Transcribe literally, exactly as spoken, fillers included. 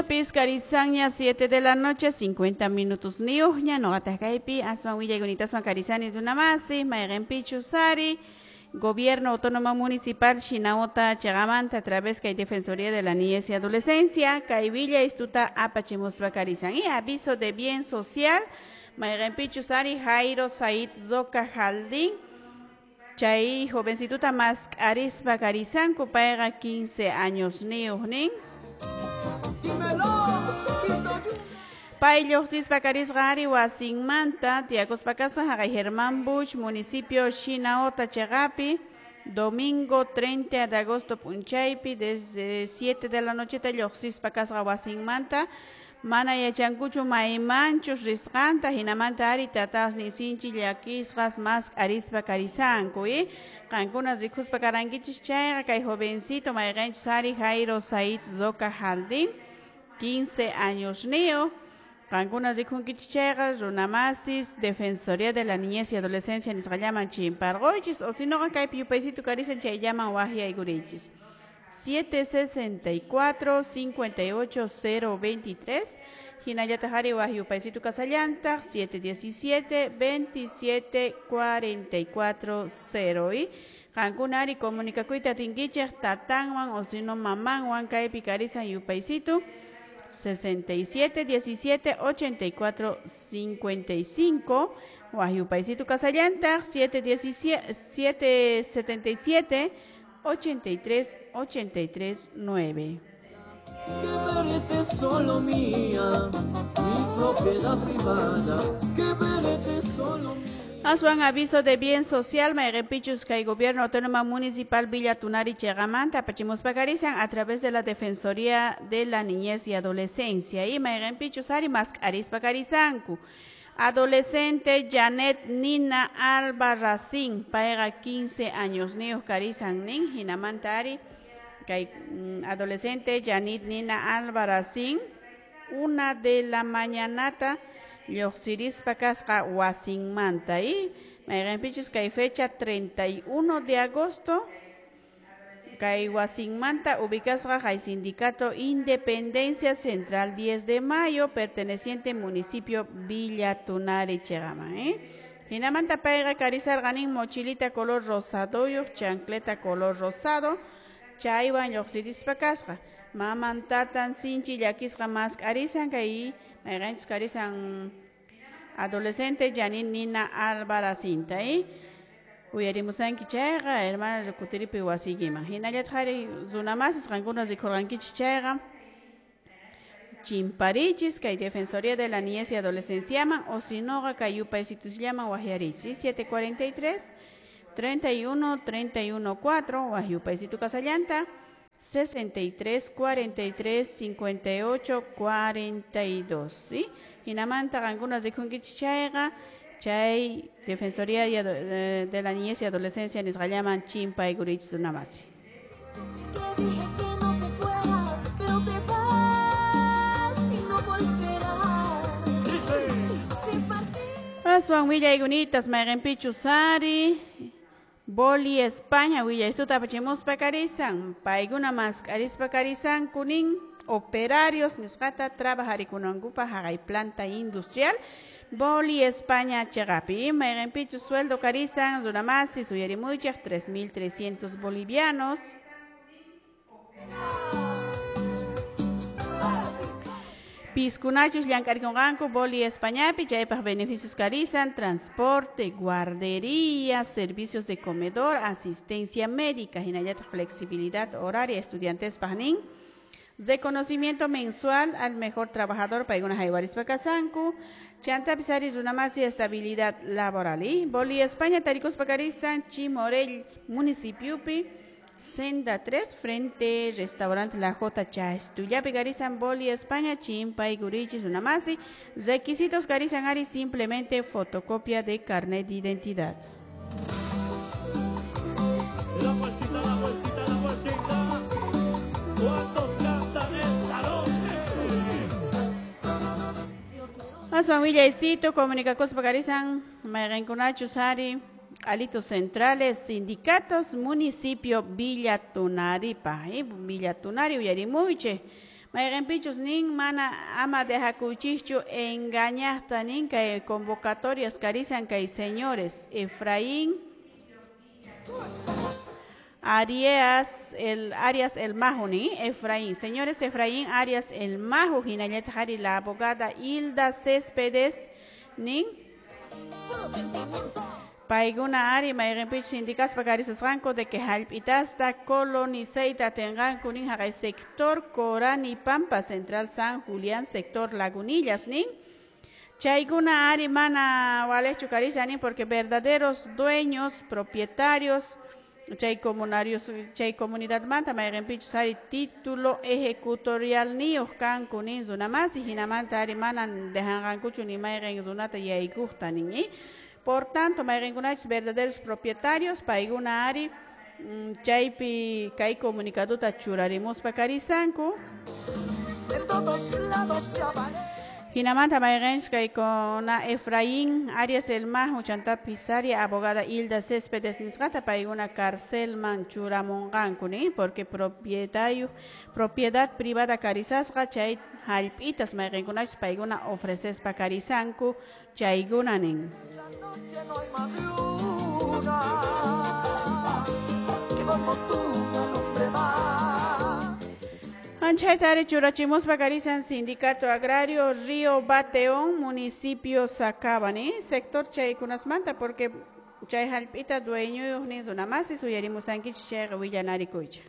Piscarizanña siete de la noche, cincuenta minutos niuña, no atajaipi, aswan willaykunita karizani runamasi, mayqinpichu sari, Gobierno Autónomo Municipal Shinahota Chagamanta a través que hay Defensoría de la Niñez y Adolescencia, kay Villa Istuta apachimuspa karizan. Y aviso de bien social, mayqinpichu sari, Jairo Said Zoca Jaldín, chay jovencituta mask'arispa karizanku, payqa quince años niuqnin. Pay lluqsispa karisqa ari wasinmanta tiyakuspa kasqa haqay Germán Bush, municipio Shinahota chaqapi, domingo treinta de agosto p'unchaypi desde siete de la nocheta lluqsispa kasqa wasinmanta, mana yachankuchu maymanchus risqanta, hinamanta ari tatasnin sinchi llakisqas mask'arispa karizanku, eh? Qankuna rikuspa karankichis chayqa kay jovencito mayqinchus ari Jairo Said Zoca Jaldín, quince años niyo. Qankuna rikunkichis chayqa runamasis Defensoría de la Niñez y Adolescencia nisqallaman chimparquychis, o si no kaypi yupaysitu karizan chayllaman waqyaykurichis. siete sesenta y cuatro, cincuenta y ocho, cero veintitrés, hinallataq ari waq yupaysitu kasallantaq siete diecisiete, veintisiete, cuarenta y cuatro, cero. Y qankuna ari comunicakuyta atinkichik tatanwan o si no mamanwan kaypi karizan yupaysitu sesenta y siete, diecisiete, ochenta y cuatro, cincuenta y cinco, waq yupaysitu kasallantaq siete diecisiete, siete setenta y siete, ochenta y tres, ochenta y tres, nueve. Que verte solo mía, mi propiedad privada, que verte solo mía. Aswan aviso de bien social, mayqinpichus kay Gobierno Autónomo Municipal Villa Tunari Cheqamanta apachimuspa karizan a través de la Defensoría de la Niñez y Adolescencia. Y mayqinpichus ari mask'arispa karizanku. Adolescente Janet Nina Alba Racín, payqa quince años niyuq karizan nin, hinamanta ari kay adolescente Janet Nina Alba Racín, una de la mañanata lluqsirispa kasqa wasinmanta y mayqinpichus kay fecha treinta y uno de agosto kay wasinmanta ubicasqa hay sindicato Independencia Central diez de mayo perteneciente municipio Villa Tunari Cheqaman, ¿eh? Hinamanta payqa karizarqanin mochilita color rosadoyuq, chancleta color rosado, chaywan lluqsirispa kasqa. Maman tatan sinchi llakisqa mask'arisan kay mayqinchus karizan adolescente Janine Nina Alvaracinta, ¿eh? Uyarimusanki chayqa hermana kutiripi wasiykiman. Hinallataq ari runamasis qankuna rikurqankichis chayqa chimparichis kay Defensoría de la Niñez y Adolescenciaman o si noqa kay yupaysitusllaman waqyarichis siete cuarenta y tres, treinta y uno, treinta y uno, cuatro waq yupaysitu kasallanta sesenta y tres, cuarenta y tres, cincuenta y ocho, cuarenta y dos, ¿sí? Hinamanta qankuna rikunkichis chayqa chay Defensoría de la Niñez y Adolescencia nisqallaman chimpaykurichis runamasi. Aswan willaykunitas mayqinpichus ari Boli España willaystuta apachimuspa karizan, paykuna mask'arispa karizanku nin operarios nisqata trabajarikunankupaq haqay planta industrial Boli España chaqapi, mayqinpichus sueldo karizan runamasis uyarimuychaq tres mil trescientos bolivianos. Piskunachus llank'arikunqanku Boli Españapi chaypaq beneficios karizan transporte, guardería, servicios de comedor, asistencia médica, hinallataq flexibilidad horaria estudiantespaq nin. Reconocimiento mensual al mejor trabajador paykuna haywarispa kasanku, chantapis ari runamasi estabilidad laboral. Y Boli España tarikuspa karizan Chimorel municipiopi, Senda tres, frente restaurante La J Chastullapi karizan Boli España, chimpay gurichis runamasi. Requisitos karizan ari simplemente fotocopia de carnet de identidad. La vueltita, la vueltita, la vueltita. ¿Cuántos cantan esta noche? Aswan willaycito, comunicacospa karizan mayqinkunachus ari Alitos centrales, sindicatos, municipio Villa Tunaripa, ¿eh? Villa Tunari, uyarimuyche. Mayqinpichus nin mana ama dejakuychischu engañaqta nin kay convocatorias karisan kay señores Efraín Arias el Arias el Majo ni Efraín, señores Efraín Arias el Majo hinallataq ari la abogada Hilda Céspedes nin paykuna ari mayqinpichus sindikaspa karisasqanku de que hallp'itasta colonizayta atinqanku nin haqay sector Corani Pampa Central San Julián sector Lagunillas nin chaykuna ari mana walechu karisa nin porque verdaderos dueños propietarios chay comunarios chay comunidadmanta mayqinpichus ari título ejecutorial niyuq kanku nin runamasi hinamanta ari manan dejanqankuchu ni mayqin runata yaykuqta nin y por tanto mayqinkunachus verdaderos propietarios paykuna ari chaypi kay comunicaduta churarimuspa karisanku. En todos lados te aparece. Hinamanta mayqinchus kaykuna Efraín Arias el Majo chantapis ari abogada Hilda Céspedes nisqata paykuna carcelman churamunqanku ni porque propietario propiedad privada karisasqa chay hallp'itas mayqinkunachus paykuna ofrecespa karisanku chaykuna nin. Esta noche no hay más luna que como tú me alumbre más. Anchayta ari churachimuspa karisan Sindicato Agrario Río Bateón, municipio Sacaba, ni sector chaykunasmanta porque chay hallp'ita dueñoyuq nin runamasi suyarimusankichik chayqa willanarikuychik.